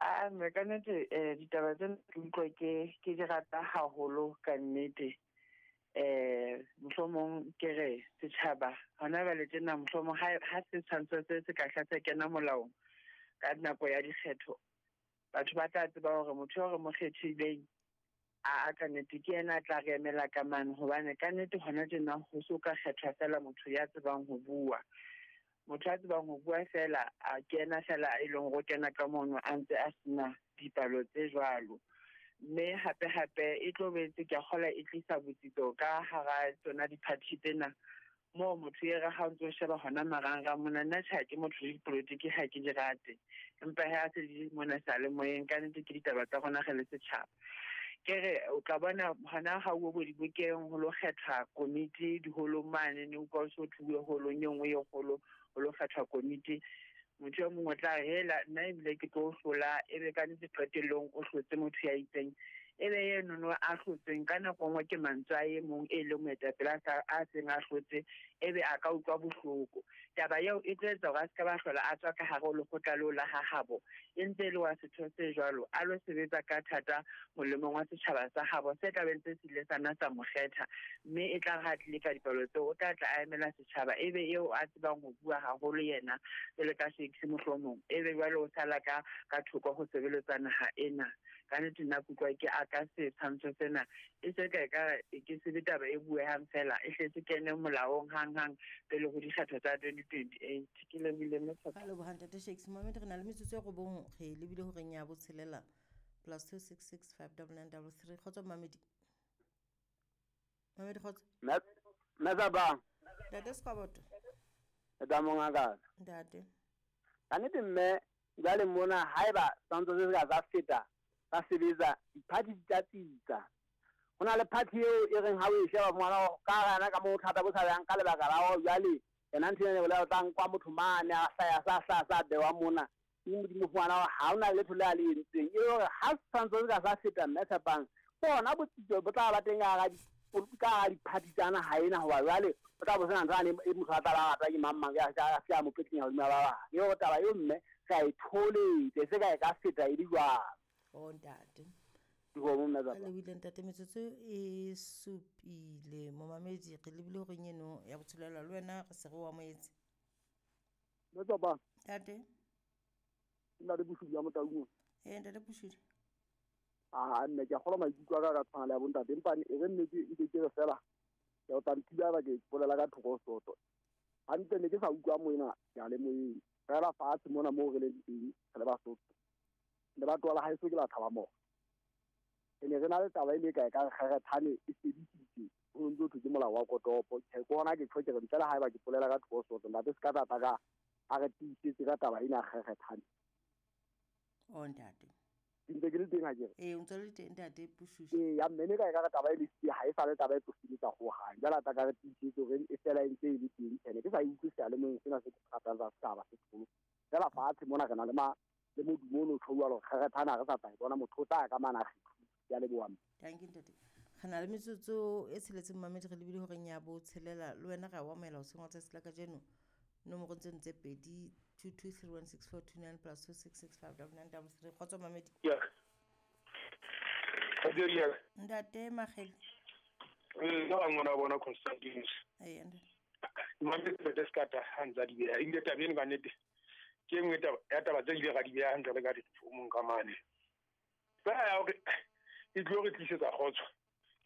A mme ka nnete ditaba tsena ke utlwa ke di rata haholo ka nnete. Mohlomong ke re setjhaba hona jwale tjena, mohlomong ha setshwantsho se ka hla se kena molaong ka nako ya dikgetho, batho ba tla tseba hore motho eo re mo kgethileng a ka nnete ke yena a tla re emela ka mane, hobane ka nnete hona tjena ho so ka kgethwa fela motho ya tsebang ho bua. Motho a tsebang ho bua fela a kena fela e leng hore o kena ka mono a ntse a sena dipalo tse jwalo. Mme hape hape e tlo boetse ke a kgolwa e tlisa botsitso ka hara tsona di-party tsena, moo motho e re ha o ntso sheba hona marangrang mona, nna tjhe ha ke motho le dipolotiki ha ke di rate, empa ha se di mona seyalemoyeng ka nnete ke ditaba tsa rona re le setjhaba. Ke re o tla bona hona ha o bo dibokeng ho lo kgethwa komiti diholong mane, ne utlwa o so thuwe holong e nngwe e kgolo ho lo kgethwa komiti. Motho e mong o tla re hela nna ebile ke tlo hlola, ebe ka nnete qetellong o hlotse motho ya itseng, ebe enono a hlotseng ka nako nngwe ke mantswe a e mong e leng moetapele a seng a hlotse, ebe a ka utlwa bohloko. Taba eo e tlo etsa hore a se ka ba hlola a tswa ka hare ho lekgotla leo la ha habo, e ntse e le wa setho se jwalo, a lo sebetsa ka thata molemong wa setjhaba sa habo se tla be ntse se ile sa nna sa mo kgetha. Mme e tla re ha tlile ka dipalo tseo, o tla tla a emela setjhaba, ebe eo a tsebang ho bua haholo yena jwalo ka Shakes mohlomong, ebe jwale o sala ka thoko ho sebeletsa naha ena. Ka nnete nna ke utlwa ke aka setshwantsho sena e se ka ke se be taba e buehang fela, e hle se kene molaong hang-hang pele ho dikgetho tsa 2028. Ke lebohile mme Tshepo. Ka leboha ntate Shakes. Mohammed, re na le metsotso e robong, re lebile horeng ya botshelela +266 599 33. Kgotso Mohammed. Mohammed, kgotso. Mme Thabang. Ntate Sekwaboto. Ntate mongaka. Ntate. Ka nnete mme jwale mona haeba setshwantsho se se ka sa feta sa sebetsa, di-party di tla tsitsa. Ho na le party eo e reng ha o e sheba ngwana ka hara ka moo thata bo sa yang ka lebaka la hore jwale yena ntho ena e bolela o tla nkwa motho mane a hlaya sa hlaya sa bewa mona. Ke Modimo fumana hore ha hona letho le a le entseng. E le hore ha setshwantsho se ka sa feta mme Tshepang, ke hona botsitso bo tla ba teng ka hara di-party tsa naha ena, hoba jwale o tla bo sena ntho yane e motho a tla ba rata ke mang mang, ya se a mo petlenya hodima ba bang. E hore taba eo mme re a e tholetse, se ka e ka feta e le jwalo. O ntate. Dikgomo, mme Tsapa. Re lebile ntate, metsotso e supile. Momamedi, re lebile horeng eno ya botshelela le wena re se re o amohetse. Mme Tsapa. Ntate. Ntate Boshudi ya Motaung. Ee, ntate Boshudi. Ah, nne ke a kgolwa maikutlo a ka ka tshwana le ya bontate, empa e re nne ke ke re fela ke o tla nthiba ba ke bolela ka thoko soto. Hantle ne ke sa utlwa moena seyalemoyeng. Fela fatshe mona moo re leng teng re le Basotho. Le batho ba haeso ke la thaba mo. E ne re na le taba e le kae ka kgerethane e sebedisitse ho ntse thwe ke molao wa kotopo. Ke bona ke tjho ke re ntle le haeba ke polela ka thoko soto, ntate se ka tata ka a re tiisetse ka taba ena kgerethane. O ntate. Ke ntse ke le teng ha ke re. Ee, o ntse le teng ntate Pushushi. Ee, ya mme ne ka e ka re taba e le siya ha e sa le taba e tlo sebetsa hohang. Jwale a tla ka re tiisetse hore e fela e ntse e le teng. Ene ke sa e utlwe seyalemoyeng sena se kgathatsa setjhaba se seholo. Fela fatshe mona re na le le modumo ono tjho jwalo, kgerethane ha re sa tla e bona, motho o tla ya ka mane a kgethuwe. Ke a leboha mme. Thank you ntate. Re na le metsotso e tsheletseng mamedi, re lebile horeng ya botshelela. Le wena re a o amohela hoseng wa tsatsi la kajeno. Nomoro tseno tse pedi, 22316429 plus 26659933. Kgotso mamedi. Yeah. Kgotso Ntate Makgele. Nna wa ngwana wa bona Constantine. Ee, ntate. Mamedi ntate Sekata ha ntse a di beha. Ebile taba eno ka nnete ke e nngwe ya taba tse ile ra di beha hantle re ka diforomong ka mane. Fela ya hore e tlo re tlisetsa kgotso.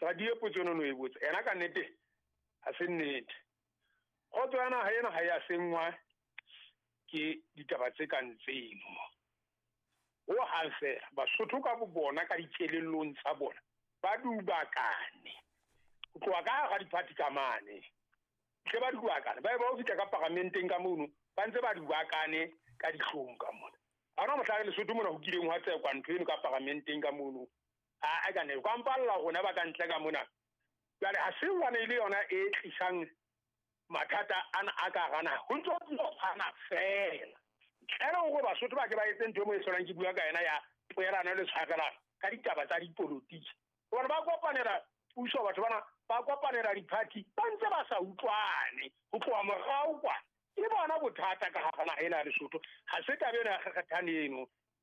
Radio potso eno no e botsa. Ena ka nnete ha se nnete. Kgotso ya naha ena ha ya senngwa ke ditaba tse kang tseno. Ho hang fela Basotho ka bo bona ka dikelellong tsa bona ba dubakane. Ho tloha ka hara di-party ka mane. Tle ba dubakane, ba e ba ho fihla ka paramenteng ka mono, ba ntse ba dubakane ka dihlong ka mona. Ha hona mohla re Lesotho mona ho kileng hwa tsekwa ntho eno ka paramenteng ka mono. A ka ne kwa mpalla rona ba ka ntle ka mona. Jwale ha se hobane e le yona e tlisang mathata ana a ka hara naha, ho ntse ho tshwana fela. Ntle le hore Basotho ba ke ba etse ntho e mo e hlolang ke bua ka yena ya poelano le tshwarelano ka ditaba tsa dipolotiki. Hobane ba kopanela puso, batho bana ba kopanela di-party, ba ntse ba sa utlwane ho tloha morao kwana. Ke bona bothata ka hara naha ena ya Lesotho. Ha se taba ena ya kgekgethane eno.